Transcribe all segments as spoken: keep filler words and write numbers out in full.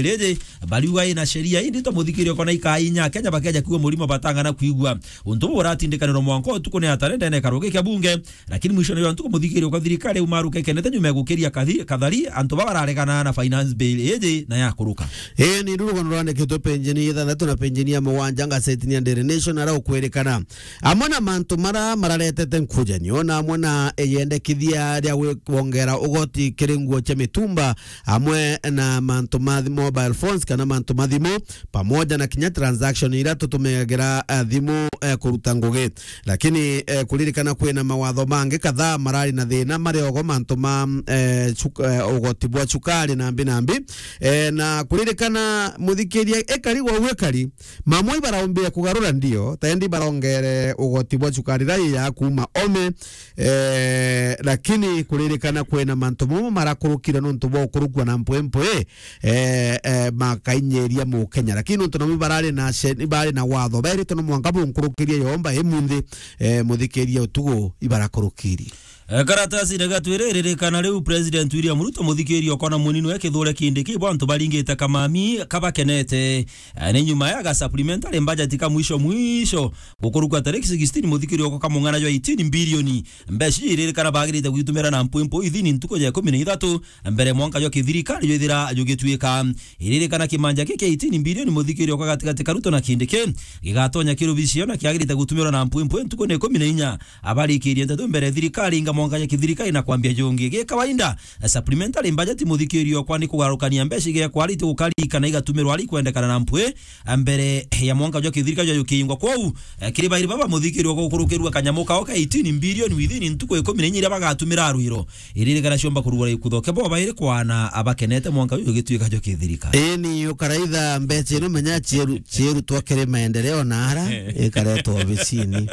riji, bariuga ina sheria indito, muthikiri okona ikainya Kenya bakeja kuigua murimo batangana kuigua. Untu buu buratindikanirwa mwanka utuku ni atare ndene karugi kia bunge, lakini mwisho ni wa ntuku muthikiri okwa thirikari umaruka ikenete nyuma ya gukiria kathi-, kathari antu baba bararegana na finance bill iji na yakuruka. Ii ni rurugo rwandikitwe penjeni ithanthatu na penjeni ya mugwanja ngazetini ya Daily Nation, ara ukwirikana amwe na mantu mara mararetete nkujanio na amwe na iyendekithia ria gwi-, kwongera ugoti kiri nguo cia mitumba, amwe na mantu ma thi-, mobile phones kana mantu ma thimu, pamoja na kinya transaction iria tutumiagira, eh, thimu, eh, kuruta ngugi. Lakini, eh, kuririkana kwina mawatho mangi kadhaa marari na thina mari ogo mantu ma, eh, cuk-, eh, ugoti bwa cukari na mbi na mbi. Eh, na kuririkana muthikiria ikari gwa uikari, mamwe ibaraumbia kugarura ndio, tendi barongere ugoti bwa cukari rai ya kuma ome, eh, lakini kuririkana kwina mantu momo marakurukire nontu bwa ukurukua na mpwempwe, eh, eh, makainyiria Mukenya. Lakini nontu namo barari na she-, barari na watho, bairite no mwanka bunkurukirie yomba imunthi, eh, muthikiria utugu ibarakurukirie. Eh, karatasi ni gatwire iririkana riu President William Ruto muthikiria okona munini we Kithure Kindiki bo antu baringite kamami kabakenete. Eh, ni nyuma ya ga supplementary budget ka mwisho mwisho gukurukwa tariki sixteen muthikiri okwa kamung'ana jwa eighteen bilioni. Mbeca ici iririkana bagirite gwitumira na mpwimpu ithini ntuku ya ikumi na ithatu mbere mwanka jwa kithirikari jwithira jugituika. Iririkana kimanja giki kia eighteen bilioni muthikiri okwa gatigati ka Ruto na Kindiki gigatonya kirubicio na kiagirite gutumirwa na mpwimpu ntuku ni ikumi na inya. Abarikirie nteto mbere thirikari inga mwanka ya kithirikari na kwambia jungi. Gi kawaida, eh, supplementary budget muthikiri okwa ni kugarukania mbeca igekwa ari ti gukari kana igatumirwa ari kwendekana na mpwi, eh, mbere ya mwanka jwa kithirikari jwa jukingwa. Kwou, eh, kiri bairi baba muthikiri okwa gukurukirua kanyamu kao ka eighteen bilioni within ntuku ikumi na inya iria bagatumira rwiro. Iririkana ciomba kurugura ikuthoke bo bairi kwana abakenete mwanka uyu ugituika jo kithirikari. Ii ni ukaraitha mbeca ino menya cieru, cieru twa kiri maendeleo na ara ikaretwo obisini.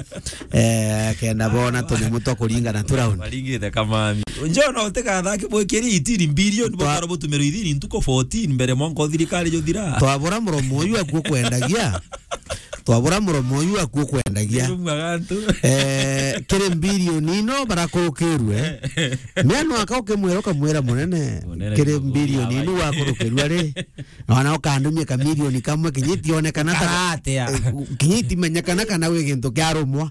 Eh, kenda bona tunyamu twa kuringa na turauni. Baringite kamami. Njona utikathake bwikiri itini bilioni bukara butumiro ithini ntuku fourteen mbere mwanka uthirikari juthira. Twabura muromo uyu akuo kwendagia. Twabura muromo uyu akuo kwendagia. Nirumwa gantu. Eh, kiri bilioni ino barakurukirue. Mia no aka ukimwira ukamwira munene, munene kiri ni bilioni ino wakurukirua ri. Na wana ukandumia ka milioni kamwe kinyiti onekana ta karatea. Eh, kinyiti menyekana kana wi gintu kia rumwa.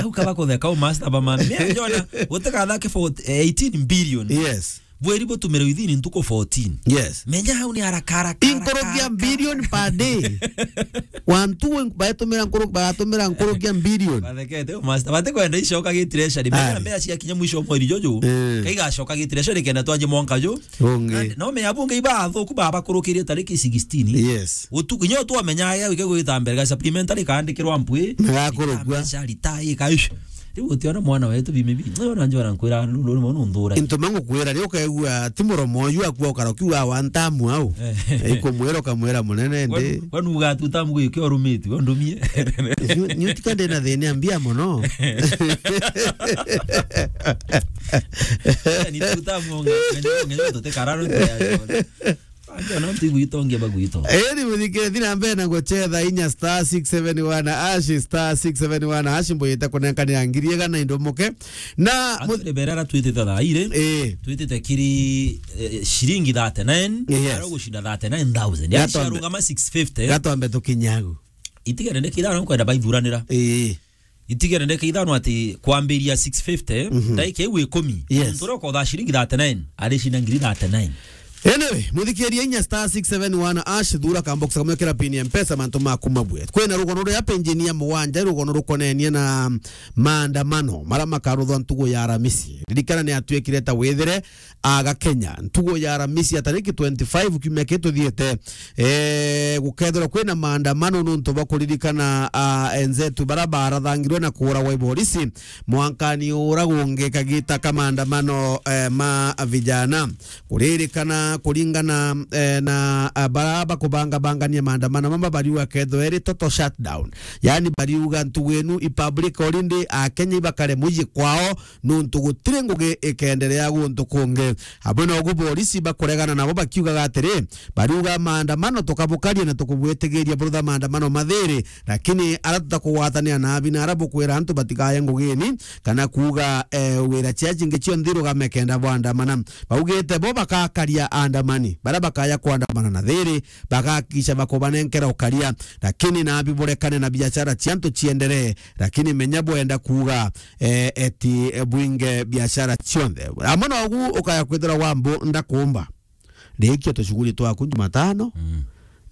Au kaba kutheka u master ba man. Mia njona utikathake for eighteen billion. Yes. Bweri butumire within ntuku fourteen. Yes. Menya hau ni haraka, haraka, haraka, haraka. Inkurukia billion per day. Wantu we-, batumira nkuru-, batumira nkurukia billion. Bathekete, master. Bate kwenda icoka gi treasury. Menya mbeca ciakinya mwisho wa mweri juju. Eh. Kaigacoka gi treasury kenda twanje mwanka ju. Ungi. Na, no menya bunge ibathuku babakurukirie tariki sixteen. Yes. Utuku, nyo twamenya ya wike gwita mbere ga supplementary kaandikirwa mpwi. Na gakurukua. Mbeca rita ika, ish. Riu utiona mwana wetu bi maybe. Nyo na njora nkwira, nu-, nu-, nu-, nunthura. Into mangu kwira, riu ukaigua, ti muromo uyu akua ukara ukiuga wa ntamu au. Eh. Ikumwira ukamwira munene ndi. Kwanu, kwanu ugatuta mgu ikio rumiti, undumie. Nyu-, nyu tika ndina thina mbia muno. Ni tuta monga, ngene, ngene tutekarano ya. Antu ana nti gwito nge bagwito. Eri muthikire thina mbere na guchetha inya star six seven one hash, star six seven one hash, mbuyite kunenkanira ngiri igana indo muke. Na mu- atire berera twitite thaa ire. Eh. Twitite kiri, eh, shilingi thirty-nine. Yes. Ara gushinda thirty-nine thousand. Yani gatombe, ciarungama six fifty. Gatombe tukinyagu. Itigere ndeke ithano nkwenda baithuranira. Eh. Itigere ndeke ithano ati kwambiria six fifty, mhm, ndaika iu ikumi. Yes. Muntu uria ukotha shilingi thirty-nine, arishinda ngiri thirty-nine. Anyway, muthikiria inya star six seven one hash, thura kambox kamwe kira pin ya Mpesa, mantu maku mabwe. Kwina rugono ruria penjeni ya mugwanja, rugono rukonenie na maandamano mara makaruthwa ntugu ya Aramisi. Ririkana ni atuikire ta withire aga Kenya. Ntugu ya Aramisi ya tariki twenty-five kiumia kii tuthiite, eh, gukethirwa kwina maandamano nuntu bwa kuririkana, ah, enzetu bara barathangirwe na kuuragwa i borisi mwankani ura gungi kagita ka maandamano, eh, ma vijana. Kuririkana kuringana, eh, na, ah, bara bakubangabangania maandamano mama bariuga kethwe iri total shutdown. Yani bariuga ntugu inu i public holiday, a Kenya ibakare mucii kwao, nuntu gutiri ngugi ikenderea guntu kungi. Amwe na ugu borisi bakuregana nabo bakiugaga atiri, bariuga maandamano tukabukaria na tukubwitigiria burutha maandamano mathiri, lakini ara tutakugwatanira na abina ara bukwira antu batikaye ngugini kana kuuga, eh, wira cia cingi cionthe irugame kenda bwandamana. Baugite bo bakakaria maandamani. Baria bakaya kwandamana na thiri, bagakikisha bakubanenkera ukaria, lakini nabi burekane na biashara cia antu cienderee, lakini menya bwenda kuuga, eh, eti, eh, bwinge biashara cionthe. Amwe nogu ukaya kwithirwa Wambu ndakumba. Rikia tushughuli twaku Jumatano, Mm.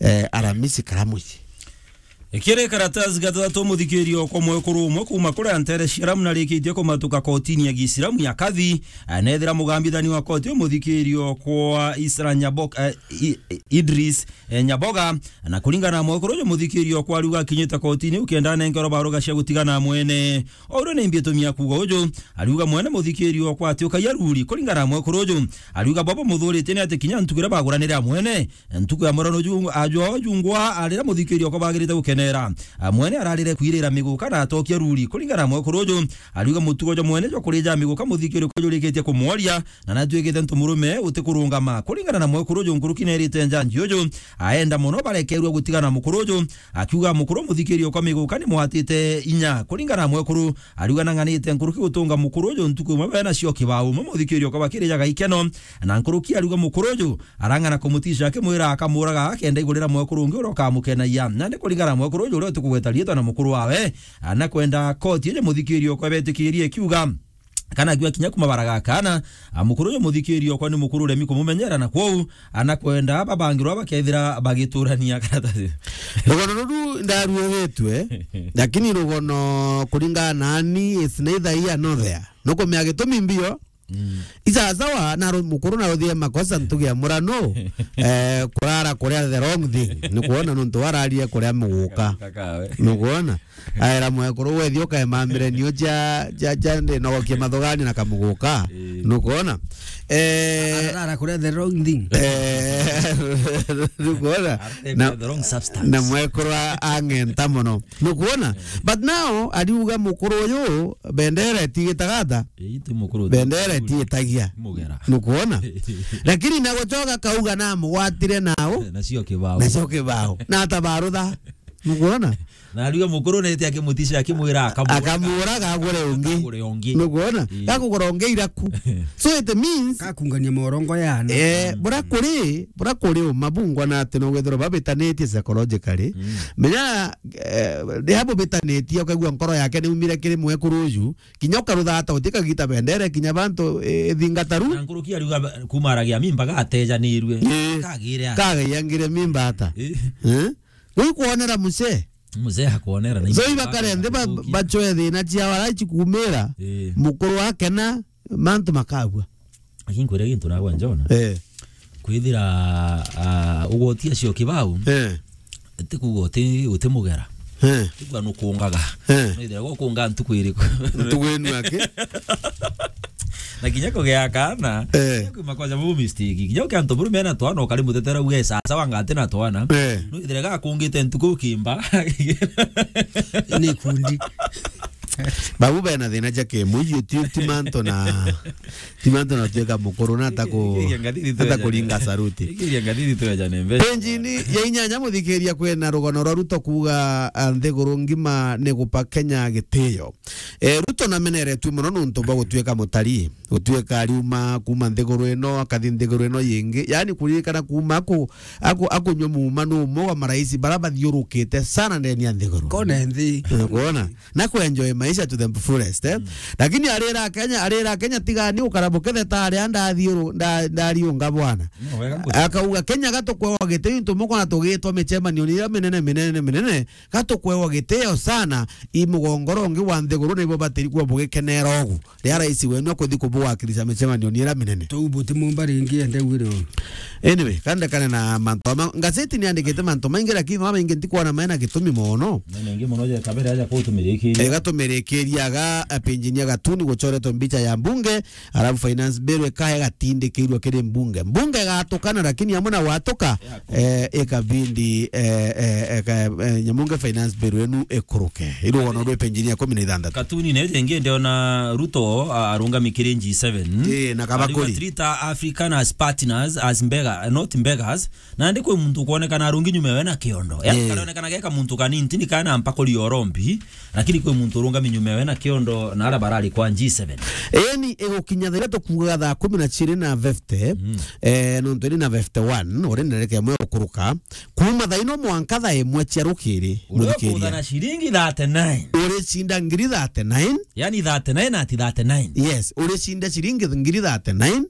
eh, Aramisi karamuci. Ikiri karatasi gatatu, muthikirio kwa mwekuru umwe kuuma kuria ntere cia Lamu narikitie kumatuka kotini ya Giisilamu ya Kadhi, anethira mugambithani wa koti umuthikirio kwa Isra Nyabok-, eh, I-, Idris, eh, Nyaboga, na kuringana na mwekuru uju muthikirio kwa ariuga akinyite kotini ukenda anenkerwa baruga cia gutigana mwene. Ourwe ni mbi itumi ya kuuga uju, ariuga mwene muthikirio kwa ati ukaia ruri. Kuringana na mwekuru uju, ariuga bobo muthuritie ni ati kinya ntuku iria baguranire a mwene, ntuku ya murano ju-, ajwa jungwa arira muthikirio kwa bagirite gukenera. A mwene ararire kwirira miguka na atokia ruri. Kuringana na mwekuru uju, ariuga mutugo jwa mwene jwa kurija miguka muthikirio kwa jurikitie kumworia, na natuikite ntu murume utikurungama. Kuringana na mwekuru uju, nkuruki nerite njanji uju, aenda mono barekerua gutigana na mukuru uju, akiuga mukuru muthikirio kwa miguka ni mwatite inya. Kuringana na mwekuru, ariuga nang'anite nkuruki gutunga mukuru uju ntuku imwe bena cio kibao umwe muthikirio kwa bakirijaga ikeno, na nkuruki ariuga mukuru uju arang'ana kumutisha akimwira akamuraga akenda igurira mwekuru ungi uria ukamukenagia. Nandi kuringana na mwekuru uju uria utikugweta riitwa na mukuru wawe, anakwenda koti ije muthikirio kwa betikirie kiuga kana akiuga kinya kumabaraga kana, a, mukuru uyu muthikirio kwa ni mukuru uremi kumumenyera na kwou anakwenda babangirwa bakethira bagiturania karatasi. Rugono ruru ndaruegitwe, lakini rugono kuringana nani is neither here nor there. Nukumea gitumi mbio. Mm. Isasawa na ru-, mukuru na uthie makosa ntugi ya murano, eh, kurara kuria the wrong thing. Ni kuona nuntu wararie kuria muguka. Kakawe. Ni kuona? Aera mwekuru wethi ukaemamire nio cia, cia, cia ndi nogokie mathugani na kamuguka. Ii. Nukwona? Eh, arara kuria the wrong thing. Eh, nukwona? Arara na, the wrong substance. Na mwekuru a-, ang'enta mono. Nukwona? But now, ariuga mukuru uyu, bendera itigitaga ata? Ii, ti mukuru. Bendera itigitagia. Mugera. Nukwona? Lakini na gucoka kauga na mugwatire nao. Nacio kibao. Nacio kibao. Na atabarutha. Nukwona? Na ariuga mukuru nete akimutisha akimwira akamwira. Akamuraga agure ungi. Agure ungi. Nukwona? Ii. Gakugura ungi iraku. So it means kakungania morongo yana. Eh, bura kuri, bura kuri uma bungwa na ati no gwethirwa babitanitie psychologically. Mm. Menya, eh, riria bubitanitie ukaigua nkoro yake ni umire kiri mwekuru uju, kinya ukarutha ata utikagita bendere kinya bantu, eh, thingataru. Na nkuruki ariuga ba-, kumaragia mimba gatejanirue. Eh. Kagire ata? Kagaiangire mimba ata? Eh. Eh? Gwi kwonera mzee. Mzee akwonera na. So iba kare nthi ba-, bacoe thina ciao ara ici kumira. Eh. Mukuru akena, mantu makabua. Lakini kwira gintu nagwa njona. Eh. Kwithira, ah, ugwoti acio kibau. Eh. Ti kuga uti, uti mugera. Eh. Ti kuga nukungaga. Eh. Nwithira gukunga ntuku iriku? Ntuku inu aki? Na kinya kugea kana, eh, kinya kwi makosa bu mistake. Kinya ukia antu buru mena twana ukari mutetera uge sasa wanga ati na twana. Eh. Nwithire gakungite ntuku ukimba. Ni kundi. Babu bena thina ja kimuiyo ti, ti mantu na, ti mantu na tuika mukuru na ata ku-, ata kuringa saruti. Ikiria ngathiri tu ya jane mbe. Penjini ya inyanya muthikiria kwina rugono rwa Ruto kuuga, ah, nthiguru ngima ni gupa Kenya gitiyo. Eh, Ruto nameneretue mono nuntu bwa gutuika mutarii. Gutuika ariuma kuuma nthiguru ino, akathi nthiguru ino yingi. Yaani kuririkana kuuma aku-, aku-, akunywa muuma ni umwe wa marais bara bathiurukite sana ndeni ya nthiguru. Kone nthi. Eh, kuona? Na kuenjoy maisha to the fullest, eh? Mm. Lakini arira Kenya, arira Kenya tigani ukara bukethe ta aria ndathi uru-, nda-, ndariunga bwana. No, wega nguti. Akauga, "Kenya gatukwewa gitio into mukona tugitwa micemanio ni iria minene, minene, minene." Gatukwewa gitio sana, i mugongoro ungi wa nthiguru nibo batiri kuwa bugikenera ugu. Riria rais wenu akuthi kubuwakilisha micemanio ni iria minene. Tou buti mumba ringi ende wire o. Anyway, kandekane na mantu ama, ngazeti ni andikite mantu maingi, lakini mama maingi ntikwona maena gitumi mono. Maena ingi mono je kabere aja kutumirikiria. Ega tumirikiria ga, eh, penjini ya gatuni gucoretwe mbicha ya mbunge, Alafu finance bill ikae igatindikirua kiri mbunge. Mbunge igatukana, lakini amwe na gwatuka, eh, ikabindi, eh, eh, eka-, eh, nyamunge finance bill enu ikuruke. Irugono rwe penjini ya kumi na ithanthatu. Katuni na iji ingi ndiona Ruto, a-, arungami kiri seven. Eh, na kabakuri. Ariuga treat African as partners, as beggar, not beggars. Nandi kwi muntu ukwonekana arungi nyuma yawe na kiondo. Yaani, eh, karonekana geka muntu kanini, tini kana mpakuri orombi, lakini kwi muntu urungami nyuma yawe na kiondo na ara barari kwa G seven. Eni igukinya thaa ithatu kuugaga thaa kumi na ciiri na fifty, mm, eh, nontu iri na fifty-one, uri ndereke imwe gukuruka. Kuuma thaa ino mwanka thaa imwe cia rukiri, uria muthikiriria, ukuthana ciringi thirty-nine. Uricinda ngiri thirty-nine. Yaani thirty-nine ati thirty-nine. Yes, uricinda ciringi ngiri thirty-nine.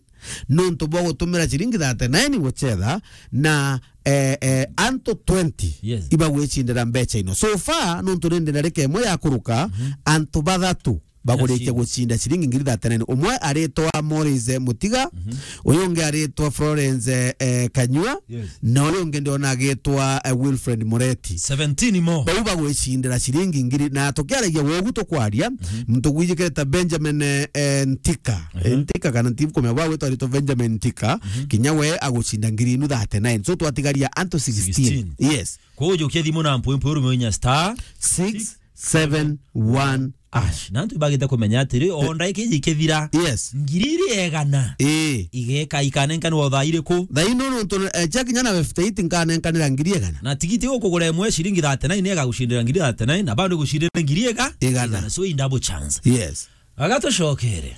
Nontu bwa gutumira ciringi thirty-nine gucetha na, eh, eh, antu twenty, yes, ibagwicindira mbeca ino. So far, nontu ni ndinarika imwe ya kuruka, mhm, antu bathatu bagurikia, yes, gucinda ciringi ngiri thirty-nine. Umwe aritwa Morris, eh, Mutiga, mhm, uyu ungi aritwa Florence, eh, eh, Kanyua, yes, na uyu ungi ndiona agitwa, eh, Wilfred Mureti. Seventeen more. Bau bagwicindira ciringi ngiri, na tukiaragia wogu tukwaria, mhm, muntu gwijikire ta Benjamin, eh, eh, Ntika. Eh, mhm. Ntika kana ntibu kumenya bwa gwitwa aritwa Benjamin Ntika, mhm, kinya we agucinda ngiri inu thirty-nine. So twatigaria antu sixteen. Sixteen. Yes. Kwou jukia thimu na mpwempwe urume inya star six seven one hash. Na antu ibagite kumenya atiri, o ndagika iji ikithira, yes, ngiri iri igana, ii, igeka ikanenkanwa o thaa iriku? Thaa ino nontu, eh, ciakinya na fifty-eight nkanenkanira ngiri igana. Na tigiti ukugura imwe ciringi thirty-nine igagucindira ngiri thirty-nine, na bado igucindira ngiri iga-, igana. Igana. So in double chance. Yes. Agatucokere.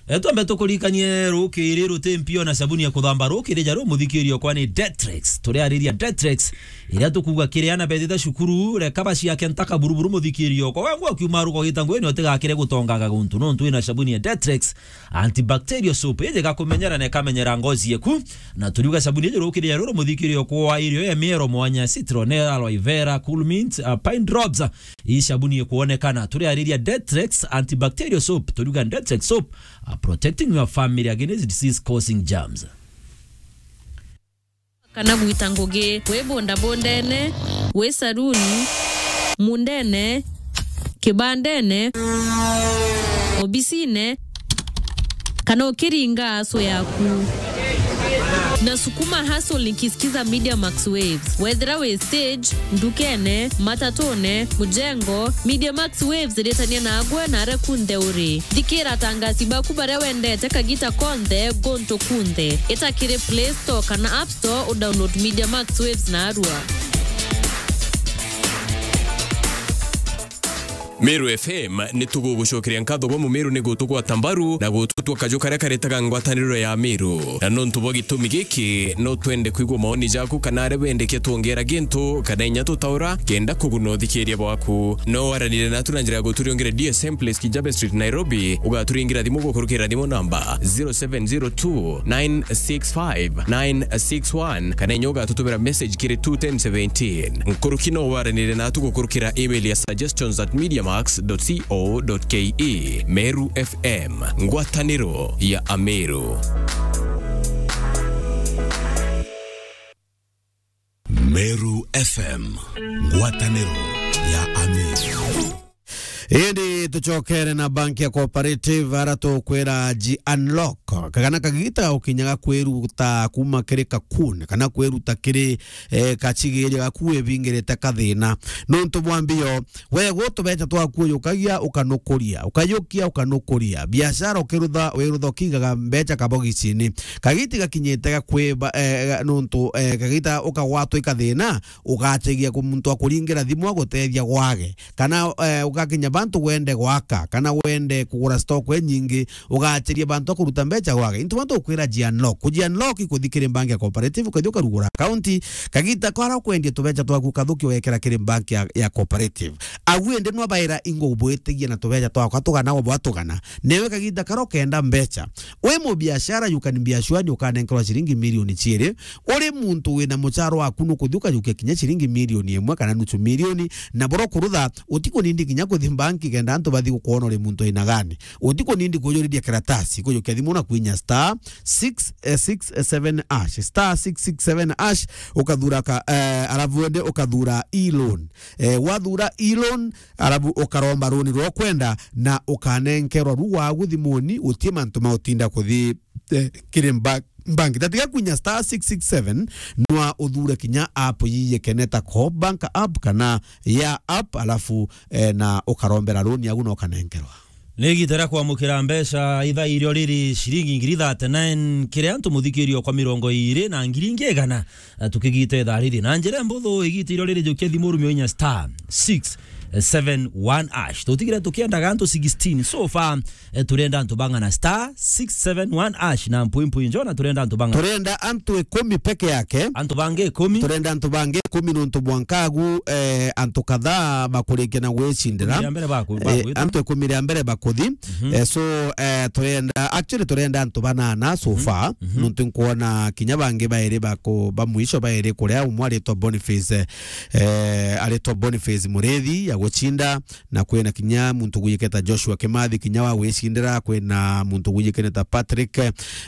E, twambe tukurikanie rukiri ruti mpio na sabuni ya kuthamba rukiri ja ru muthikirio kwa ni Detrex. Turiariria Detrex, iria tukuga kiri ana bethite cukuru, reka baciake ntaka buruburu muthikirio kwa. We ngwa kiuma ruko gita ngwini utigakire gutongaga guntu nontu ina sabuni ya Detrex antibacterial soap. Iji gakumenyera na ikamenyera ngozi yeku. Na turiuga sabuni iji rukiri ja ruru muthikirio kwa irio ya miero mwanya, citron, aloe vera, cool mint, uh, pine drops. Ii sabuni ikwonekana. Turiariria Detrex antibacterial soap. Turiuga Detrex soap, uh, protecting your family against disease causing germs. Kana gwita ngugi, wi bundabundene, wi saruni, mundene, kibandene, obisine, kana ukiringa aso yaku. Na sukuma hustle nikisikiza Media Max Waves. Wethira wi stage, ndukene, matatune, mujengo, Media Max Waves iritania nagwe na aria kunthe uri. Thikira atangasi baku baria wendete kagita konthe, guntu kunthe. Ita kiri Play Store kana App Store, udownload Media Max Waves narua. Meru F M, ni tugugucokeria nkatho bwa Mumiru ni gutugwata mbaru na gututua kaju karia karetaga ngwataniro ya Meru. Na nontu bwa gitumi giki, no twende kwigua maoni jaku kana aria wendekia twongera gintu kana inya tutaura kenda kuguna uthikiria bwaku. No waranire natu na njira ya guturiongera D S M Place, Kijabe Street, Nairobi, ugaturingira thimu gukurukira thimu namba zero seven zero two nine six five nine six one, kana inya ugatutumira message kiri two ten seventeen. Nkuruki no waranire natu gukurukira email ya suggestions at mediamax dot co dot ke. Meru F M, ngwataniro ya Ameru. Meru F M, ngwataniro ya Ameru. Indi tucokere na bank ya Cooperative, ara tukwira ji unlock. Kagana kagita ukinyaga kwiruta kuma kiri kakun, kana kwiruta kiri, eh, kacigiria gaku wibingirite kathina. Nontu bwa mbio, we gutubeca twaku uyukagia ukanukuria, ukayukia ukanukuria. Biashara ukirutha, wirutha ukiigaga mbeca kabogicini. Kagiti gakinyite ga kwiba, eh, ga-, nontu, eh, kagita ukagwatwa ikathina, ugategia ku muntu akuringira thimu agutethia gwage. Kana, eh, ugakinya bantu wende gwaka, kana wende kugura stock inyingi, ugacheria bantu a kuruta mbeca gwake. Into bantu ukwira ji unlock. Kuji unlock ikuthi kiri bank ya Cooperative, ukathi ukarugura account, kagita kara ukwendia tubeca twaku ukathuki ugekera kiri bank ya, ya Cooperative. Agu indi nwa baira ingugubwitigia na tubeca twakwa tugana o bwatugana. Newe kagita kara ukenda mbeca. Wi mubiashara, you can be assured ukanenkerwa ciringi milioni ciiri. Uri muntu wina mucharo waku nukuthi ukajukia kinya ciringi milioni imwe kana nusu milioni, na boro kurutha, utikunindi kinya kuthi banki kenda antu bathi gukwona uri muntu aina gani. Utikunindi kujuriria karatasi, kujukia thimu na kwinya star six six seven hash, star six six seven hash, ukathura ka, eh, alafu wende ukathura e-loan. Eh, wathura e-loan, alafu ukaromba runi rwa kwenda na ukanenkerwa ru wagu thimuni, utie mantu ma utinda kuthi, eh, kiri mba-, mbangi. Tatiga kwinya star six six seven, nwa uthure kinya app yiye kene ta Coop Bank app kana ya app, alafu, eh, na ukarombera runi yagu na ukanenkerwa. Ni igita ria kwamukira mbeca ithaa irio riri ciringi ngiri thirty-nine kiri antu muthikirio kwa mirongo iiri na ngiri ingi igana, eh, tukigita ithaa riri. Na njira mbuthu igita irio riri, jukia thimu urumio inya star six seven one hash. Tutigire tukiendaga antu sixteen. So far, eh, turenda antu bang'ana? Star six seven one hash na mpui mpui njona turenda antu bang'ana? Turenda antu ikumi peke yake. Antu bangi ikumi? Turenda antu bangi ikumi nontu mwankagu, eh, antu kadhaa bakurikia na gwicindira. Ikumi ria mbere baku-, eh, bakwita? Antu ikumi ria mbere bakuthi. Mhm. Eh, so, eh, turenda, actually turenda antu banana so far. Mhm. Nontu nkwona kinya bangi bairi baku-, ba mwisho bairi kuria, umwe aritwa Boniface, eh, eh, aritwa Boniface Murithi ya gucinda, na kwina kinya muntu gwijikene ta Joshua Kimathi, kinya wa gwicindira, kwina muntu gwijikene ta Patrick,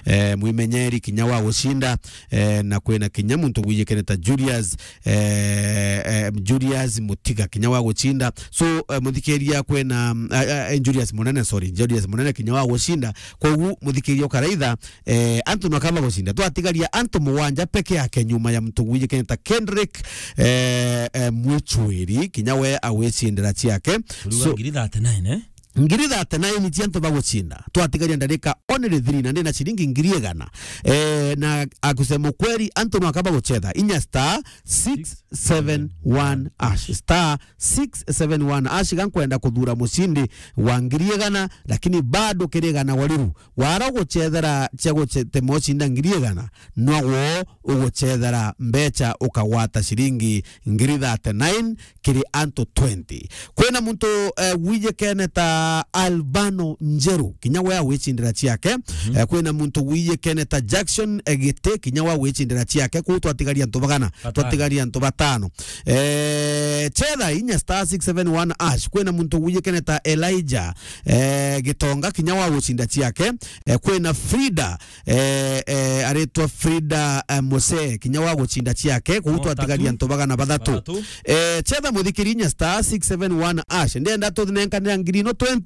eh, Mwimenyeri, kinya wa gucinda, eh, na kwina kinya muntu gwijikene ta Julius, eh, eh, Julius Mutiga, kinya wa gucinda. So, eh, muthikiria, kwina, eh, eh, Julius Munene, sorry, Julius Munene, kinya wa gucinda. Kogu muthikiria ukaraitha, eh, antu nwakaba gucinda. Twatigaria antu mugwanja peke yake nyuma ya muntu gwijikene ta Kendrick, eh, eh, Mwichwiri, kinya we agwicindira ciake. Turiuga so, ngiri thirty-nine, eh? Ngiri thirty-nine cia antu bagucinda. Twatigaria ndarika only three, na ndina ciringi ngiri igana. Eh, na akusema ukweli, antu nwakaba gucetha. Inya star six seven one hash. Star six seven one hash, gankwenda kuthura mucindi wa ngiri igana, lakini bado kiri igana wariru. Wara ugucethera cia guce-, tema ucinda ngiri igana, nwaguo ugucethera mbeca ukagwata ciringi ngiri thirty-nine kiri antu twenty. Kwina muntu, eh, gwijikene ta Albano Njeru, kinya we agwicindira ciake. Mhm. Eh, kwina muntu gwijikene ta Jackson, eh, Giti, kinya we agwicindira ciake. Kuu twatigaria antu bagana? Batano. Twatigaria antu batano. Eh, cetha inya star six seven one hash. Kwina muntu gwijikene ta Elijah, eh, Gitonga, kinya wa gucinda ciake. Eh, kwina Frida, eh, eh, aritwa Frida, eh, Mose, kinya wa gucinda ciake. Kuu twatigaria antu bagana? Bathatu. Bathatu. Eh, cetha muthikiri inya star six seven one hash. Ndenda tuthunenkanira ngiri ino twenty,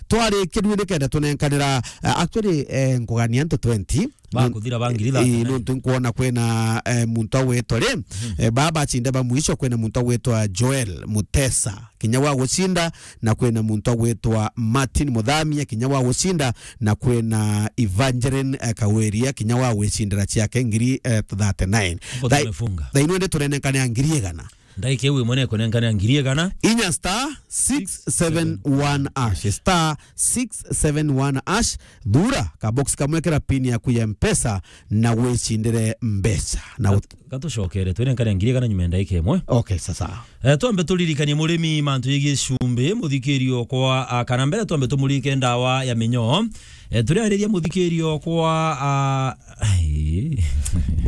twarikia ruu nikenda tunenkanira, eh, actually, eh, nkugania antu twenty. Bakuthira ba ngiri thirty-nine. Ii, nontu nkwona kwina, eh, muntu agwitwa ri, mhm, eh, baba acinde ba mwisho, kwina muntu agwitwa Joel Mutesa, kinya wa gucinda, na kwina muntu agwitwa Martin Muthamia, kinya wa gucinda, na kwina Evangeline, eh, Kaweria, kinya wa gwicindira ciake ngiri, eh, thirty-nine. Hapo tumefunga. Thaa ino ndi turenenkanira ngiri igana. Ndaika iu imwe nekunenkanira ngiri igana. Inya star six seven one hash. Star six seven one hash. Thura kabox kamwe, kira pin yaku ya Mpesa na wicindire mbeca. Na ut- Gat-, gatucokere, twirenkanire ngiri igana nyuma ya ndaika imwe. Okay, sasa. Eh, twambe turirikanie murimi mantu yegii cumbi, muthikirio kwa, ah, kana mbere twambe tumurike ndawa ya minyoo. Eh, turiariria muthikirio kwa, ah, ai.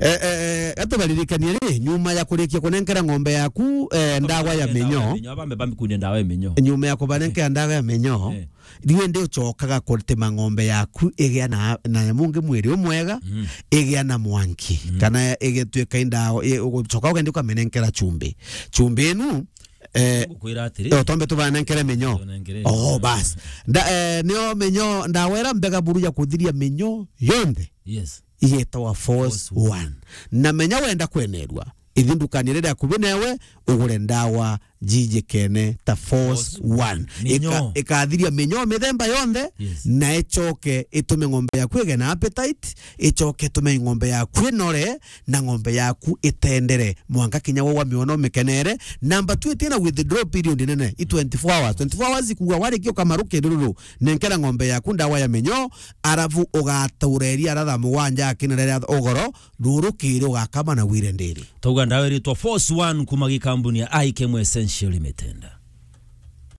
Eh, eh, eh, atubaririkanie ri, nyuma ya kurikia kunenkera ng'ombe yaku, eh, ndawa ya minyoo. Bambe bambi kunde ndawa ya minyoo. Nyuma ya kubanenkera ndawa ya minyoo, eh, riu ndi ucokaga kutima ng'ombe yaku igia na, na nyamu ngi mwiri umwega, mm, igia na mwanki, mm, kana igituika indawa, i-, ugucoka ugendi ukamenenkera chumbi. Chumbi inu, eh, ngukwira atiri, eh, twambe tubanenkere minyoo. Tunenkere. Oh, bas. Nda-, eh, nio minyoo, ndawa ira mbega buru ya kuthiria minyoo yonthe. Yes. Igetawa Force One. Na menya wenda kwenerua, ithi ndukani iria iri akuvi newe, ugure ndawa jijikene ta Force One. Minyoo. Ika-, ikathiria minyoo mithemba yonthe, yes, na icoke itume ng'ombe yaku igie na appetite, icoke itume ng'ombe yaku inore, na ng'ombe yaku itendere mwanka kinya we wamiona umikenere. Number two, itina withdraw period nene, i twenty-four hours. Twenty-four hours ikuga warikia ukamaruke rururu, nenkera ng'ombe yaku ndawa ya minyoo, arafu ugatureria ara thaa mugwanja akinere ria ugoro, ruru kiri ugakama na wire ndiri. Twauga ndawa iritwa Force One kuma gikambuni ya I K M Essential Limited.